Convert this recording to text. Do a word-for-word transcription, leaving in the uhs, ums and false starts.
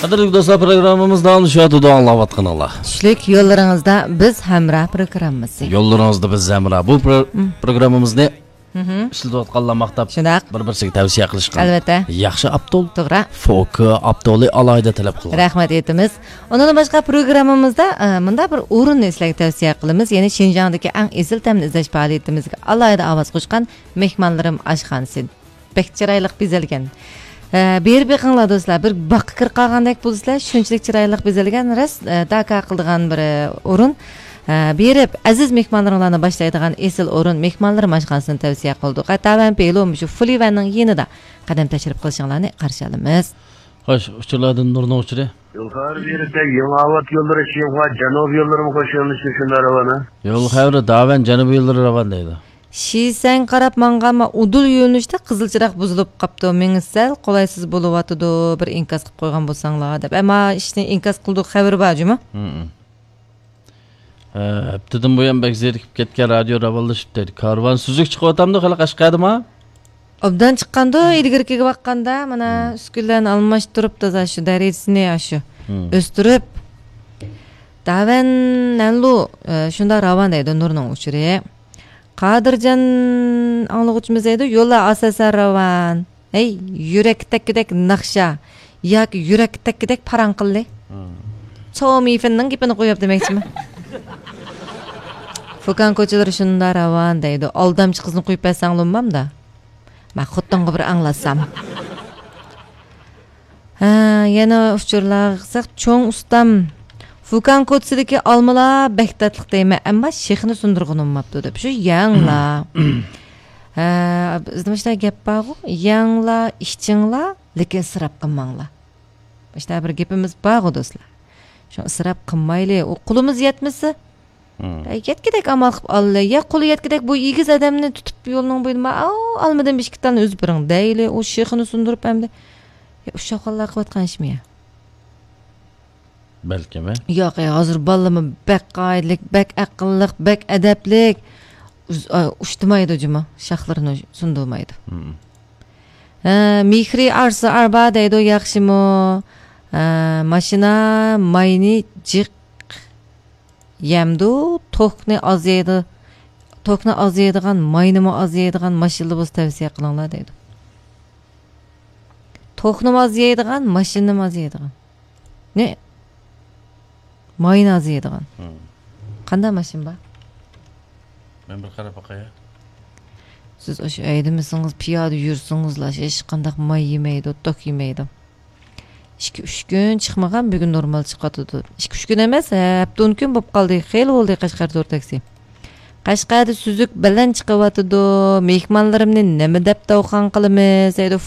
قەدىرلىك دوستلار، پروگراممىمىز داۋاملىشىۋاتىدۇ، ئاڭلاۋاتقىنىڭلار. چۈشلۈك يوللىرىڭىزدا بىز ھەمراھ پروگراممىسى. يوللىرىڭىزدا بىز ھەمراھ. بۇ پرو-، مم. پروگراممىمىزنى مم. ئىشلىتىۋاتقانلار ماختاپ، شۇنداق. بىر-بىرسىگە تەۋسىيە قىلىشقان. ئەلۋەتتە. ياخشى ئاپتول. توغرا. فوكى ئاپتولى ئالاھىدە تەلەپ قىلغان. رەھمەت ئېيتىمىز. ئۇنىڭدىن باشقا پروگراممىمىزدا، ئە، مۇنداق بىر ئورۇننى سىلەرگە تەۋسىيە قىلىمىز. يەنى شىنجاڭدىكى ئەڭ ئېسىل تەمنى ئىزدەش پائالىيىتىمىزگە ئالاھىدە ئاۋاز قوشقان مېھمانلىرىم ئاشخانىسى. بەك چىرايلىق بېزەلگەن. ھە، بېرىپ بېقىڭلار دوستلار، بىر باغقا كىرىپ قالغاندەك بولىسىلەر، شۇنچىلىك چىرايلىق بېزەلگەن، راست، ئە، داكا قىلىدىغان بىر، ئە، ئورۇن. ھە، بېرىپ ئەزىز مېھمانلىرىڭلارنى باشلايدىغان ئېسىل ئورۇن، مېھمانلىرىم ئاشخانىسىنى تەۋسىيە قىلدۇق. ھە، تەۋەن پېلۇ مۇشۇ فۇلىۋەننىڭ يېنىدا قەدەم تەشرىپ قىلىشىڭلارنى قارشى ئالىمىز. خوش، ئۇچۇرلاردىن نۇرنىڭ ئۇچۇرى. يۇقىرى بېرىدە يېڭىئاۋات يوللىرى، شىنخۇا جەنۇبىي يوللىرىمۇ قوشۇلۇشى شۇنداق راۋان، ھە؟ يول خەۋىرى داۋەن جەنۇبىي يوللىرى راۋان دەيدۇ. شىسەنگە قاراپ ماڭغانما، ئۇدۇل يۆنىلىشتە قىزىل چىراغ بۇزۇلۇپ قاپتۇ. مېڭىش سەل قولايسىز بولۇۋاتىدۇ. بىر ئىنكاس قىلىپ قويغان بولساڭلار دەپ. ئەمما ئىشنى ئىنكاس قىلدۇق خەۋىرى بار جۇمۇ. ھە، ھەپتىدىن بۇيان بەك زېرىكىپ كەتكەن رادىيو راۋانلىشىپ دەيدۇ. كارۋان سۈزۈك چىقىۋاتامدۇ خېلى قەشقەردىما؟ ئوبدان چىققاندۇ، ئىلگىرىكىگە باققاندا، مانا، ئۈسكۈنىلەرنى ئالماشتۇرۇپ، تازا شۇ دەرىجىسىنى، شۇ ئۆستۈرۈپ. داۋەن نەنلۇ، ئە، شۇنداق راۋان دەيدۇ، نۇرنىڭ ئۇچۇرى. قادىرجان ئاڭلىغۇچىمىز دەيدۇ، يوللار ئاساسەن راۋان. ھەي، يۈرەككە تەگكۈدەك ناخشا ياكى يۈرەككە تەگكۈدەك پاراڭ قىلدى. چاۋ مىفېننىڭ گېپىنى قويۇپ دېمەكچىمەن. فۇكان كوچىلىرى شۇنداق راۋان دەيدۇ. ئالدامچى قىزنى قويۇپ بەرسەڭ بولمامدا؟ مەن خوتۇنغا بىر ئاڭلاتسام. ھە، يەنە ئۇچۇرلارغا قارىساق، چوڭ ئۇستام، فۇكان كوچىسىدىكى ئالمىلار بەك تاتلىق دەيمەن، ئەمما شېخىنى سۇندۇرغىنى بولماپتۇ دەپ. شۇ يەڭلا. ھە، بىزدە مۇشۇنداق گەپ بارغۇ، يەڭلا، ئىچىڭلا، لېكىن ئىسراپ قىلماڭلا. مۇشۇنداق بىر گېپىمىز بارغۇ، دوستلار. شۇڭا ئىسراپ قىلمايلى، ئۇ قولىمىز يەتمىسە، مم. ئە، يەتكۈدەك ئامال قىلىپ ئالىلى. يا قولى يەتكۈدەك بۇ ئېگىز ئادەمنى تۇتۇپ يولنىڭ بويىدا، ماۋۇ ئالمىدىن بىر ئىككى تالنى ئۈزۈپ بېرىڭ دەيلى، ئۇ شېخىنى سۇندۇرۇپ ئەمدى. يا ئۇششاقۋاللار قىلىۋاتقان ئىشمۇ يا؟ بەلكىم، ھە؟ ياق، ئە، ھازىر بالىلىرمۇ بەك قائىدىلىك، بەك ئەقىللىق، بەك ئەدەپلىك. ئۇز-، ئا، ئۇشتۇمايدۇ جۇمۇ، شاخلىرىنى سۇندۇرمايدۇ. مم. ھە، مېھرى ئارسا ئاربا دەيدۇ، ياخشىمۇ؟ ھە، ماشىنا ماينى جىق يەمدۇ، توكنى ئاز يەيدۇ، توكنى ئاز يەيدىغان، ماينىمۇ ئاز يەيدىغان ماشىنىلا بولسا تەۋسىيە قىلىڭلار دەيدۇ. توكنىمۇ ئاز يەيدىغان، ماشىنىنىمۇ ئاز يەيدىغان. نە؟ ماينى ئاز يەيدىغان. مم. قانداق ماشىنا بار؟ مەن بىر قاراپ باقاي. سىز ئاشۇ ھەيدىمىسىڭىز، پىيادە يۈرسىڭىزلا، ھېچقانداق ماي يېمەيدۇ، توك يېمەيدۇ. ئىككى، ئۈچ كۈن چىقمىغان، بۈگۈن نورمال چىقىۋاتىدۇ. ئىككى، ئۈچ كۈن ئەمەس، ھەپتە، ئون كۈن بولۇپ قالدى. خېلى بولدى قەشقەر تور تاكسى. قەشقەردە سۈزۈك بەلەن چىقىۋاتىدۇ. مېھمانلىرىمنى نېمە دەپ داۋخان قىلىمىز؟ دەيدۇ.